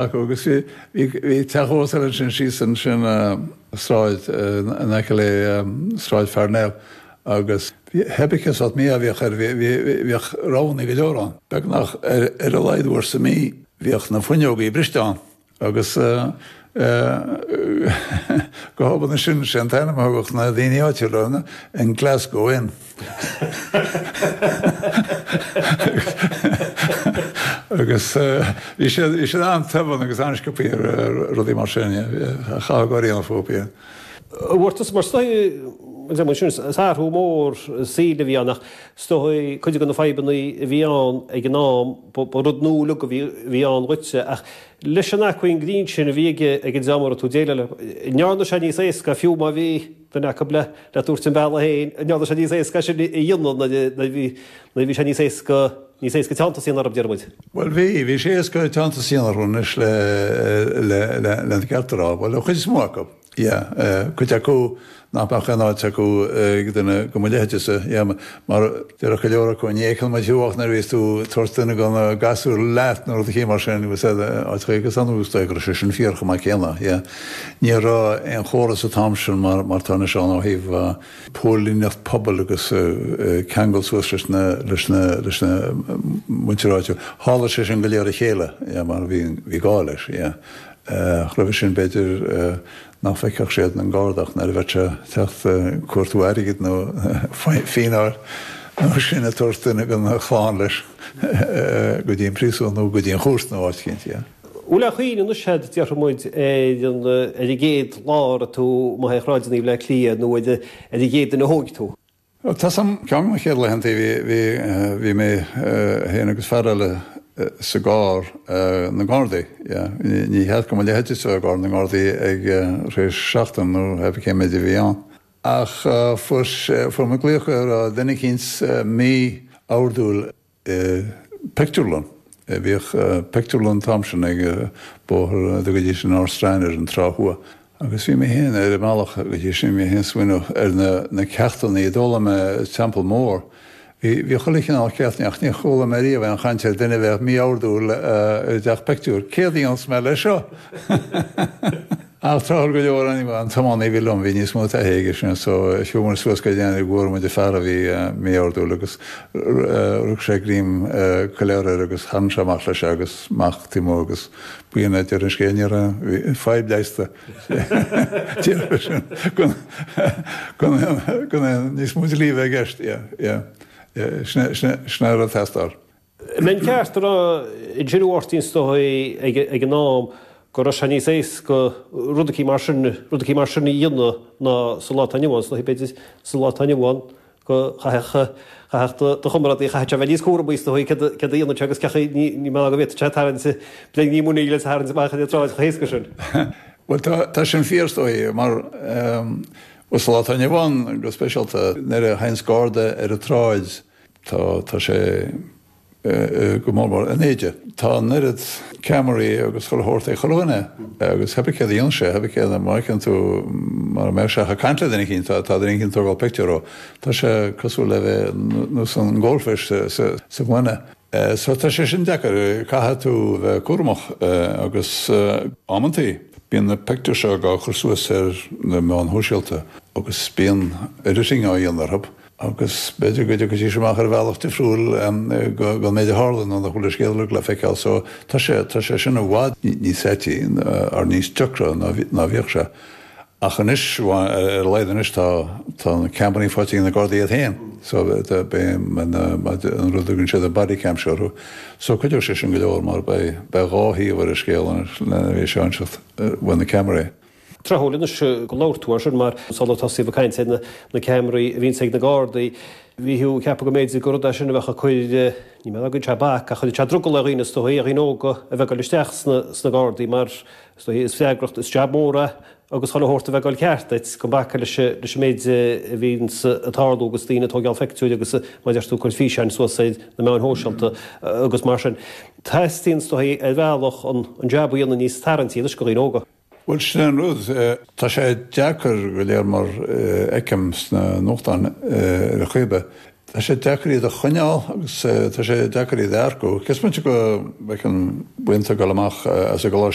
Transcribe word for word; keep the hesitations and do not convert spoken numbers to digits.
acu agus bhí bhí teach ósta ansin síos ansin sráid in aice le Sráid Pharnell agus pé cén sórt mí a bhíodh air bhíodh roghanna go leor ann. Beagnach ar ar a laghad uair sa mí bhíodh na fuinneogaí briste ann agus go hobann sin sé an t-ainm a thugadh na daoine áitiúla an Glasgow Inn. Agus bhí siad bhí siad an-tobann agus an-sciobtha ar rudaí mar sin, chaithfeá gáirí a dhéanamh fúthu. Bhfuair tusa mar sin is athrú mór saoil a bhí ann ach is dóigh cuid de na fadhbanna a bhí ann ag an am ba rud nua uilig a bhí ann dhuitse ach leis an acmhainn grinn sin a bhí aige ag an dream a raibh tú ag déileáil leo, an ndearna sé níos éasca fiú má bhí duine acu le le tabhairt an bealaigh féin, an ndearna sé níos éasca sin a dhéanamh nuair a bhí nuair a bhí sé níos éasca níos éasca teanntas a dhéanamh orthu, déarfaidh muid. Bhuel bhí, bhí sé éasca teanntas a dhéanamh orthu anois le le le le an ceart a rá, bhuel an chuid is mó acu. Yeah, cuid acu nach mbeadh aon áit acu ag duine de mo leithéidese, yeah, mar déarfadh go leor acu, ní fheiceann muid thú ach nuair a bhíos tú ag tabhairt duine de na gasúir leat nó rud eicínt mar sin agus áit chuig agus an ús go raibh sé sin fíor chomh maith céanna, yeah. Ní raibh aon chóras an t-am sin mar mar tá anois ann ó thaobh póilíneacht pobail agus ceangal suas leis na leis na leis na muintir áitiúil. Tharla sé sin go léir a chéile, yeah, mar bhí bhí gá leis, yeah. Ach roimhe sin b'fhéidir nach bhfeicfeadh siad an Garda ach nuair a bheadh sé ag teacht ag cuartú airgid nó fíneáil nó sin ag tabhairt duine den chlann leis go dtí an príosún nó go dtí an chúirt nó áit eicínt, yeah. Bhfuil aon chuimhne anois agat, déarfaidh muid, ar an ar an gcéad lá a raibh tú amuigh ar shráideanna Bhaile Átha Cliath nó ar an gcéad duine a thóg tú? Tá 's a'm, ceann de na chéad laethanta bhí bhí bhí mé féin agus fear eile sa gcarr na nGardaí, yeah. Ní cheart do mo leithéidese a bheith i gcarr na nGardaí ag tar éis seachtain nó pé cén méid a bhí ann. Ach fuair sé, fuair muid glaoch go raibh duine eicínt mí-ordúil i pictiúrlann. Bhíodh pictiúrlann an t-am sin ag bóthar a dtugaidís an North Strand air, an Trá Thuaidh. Agus bhí mé féin ar an mbealach go dtí sin, bhí mé féin ag smaoineamh ar na na ceachtanna a d'fhoghlaim mé i Teampall Mór. Bhí bhí chuile chineál ceachtanna ach níor chuala mé riamh aon chaint ar duine a bheadh mí-ordúil i dteach pictiúr. Céard a dhéanfas mé leis seo? Ach tráthúil go leor anyway, an tiománaí a bhí liom, bhí níos mó taithí aige sin so chuaigh muid suas go dtí go bhfuair muid an fear a bhí mí-ordúil agus rug sé greim coiléar air agus tharraing sé amach leis é agus amach taobh amuigh agus b'in é deireadh an scéil, ní raibh fadhb leigheasta déarfainn sin gan aon níos mó dlí a bheith i gceist, yeah, yeah, sin é a raibh ag teastáil. An ceart a rá ansin a Mháirtín is dóigh ag an am go raibh sé níos éasca rud eicínt mar sin, rud eicínt mar sin a dhéanamh ná sa lá atá inniu ann, is dóigh b'fhéidir sa lá atá inniu ann go chaithfeadh, chaithfeadh do, do chomrádaí, chaithfeadh sé a bheith níos cúramaí is dóigh céard a, céard a dhéanann sé agus cé chaoi, ní, ní mar go bhféadfadh sé tarraingt, bréidíní muiníl a tharraingt amach ar an tsráid chomh héasca sin. Bhuel tá, tá sin fíor is dóigh mar bhuel sa lá atá inniu ann go speisialta nuair a théanns Garda ar an tsráid tá, tá sé, go mór mór in éide. Tá an oiread ceamaraí agus chuile shórt ag chuile dhuine agus pé céard a dhéanann sé, pé céard má fheiceann tú mara mbeadh sé ach ag caint le duine eicínt, tá duine eicínt ag tógáil pictiúr dhó. Tá sé cosúil le bheith nós an goldfish sa ghloine. So tá sé sin deacair, caithfidh tú bheith cúramach agus amantaí bíonn na pictiúir seo á gcur suas ar na meáin shóisialta agus bíonn editing á dhéanamh orthu. Agus b'fhéidir go dtiocfaidís amach ar bhealach difriúil don méid a tharla nó nach bhfuil an scéal uilig le feiceáil. So tá sé, tá sé sin i bhfad níos aití or níos deacra ná a bhíodh sé. Ach anois, ar a laghad anois tá, tá na ceamaraí faighte ag na Gardaí iad féin. So beidh an rud a dtugann siad an body cam seo orthu. So cuideoidh sé sin go leor mar beidh, beidh dhá thaobh ar an scéal anois lena bhí sé anseacht uaidh na ceamaraí. Tráthúil anois go labhair tú air sin mar sular tosaíodh ag caint ar na ceamaraí a bhíonns ag na Gardaí, bhí tú ag ceapadh go mb'fhéidir gur rud é sin a bheadh ag cur, ní mé go sé bac ach chuirfeadh sé drogall ar dhaoine is dóigh, ar dhaoine óga a bheith ag dul isteach sna Gardaí mar is dóigh is freagracht, is jab mór é agus chuile shórt a bheith ag dul ceart duit gan bacadh leis an méid a bhíonns ag tarlú agus daoine ag tógáil pictiúir agus mar a deir tú ag cur físeáin suas ar na meáin shóisialta agus mar sin. Teastaíonn is dóigh ar bhealach an jab a dhéanamh níos tarraingtí anois do dhaoine óga. Bhuel, sin é an rud. Tá sé deacair go léir mar fheicim sna nuachtáin ar chaoi ar bith. Tá sé deacair iad a choinneáil agus tá sé deacair iad a earcú. Cés moite go bhfeiceann buíonta ag dul amach as an gcoláiste.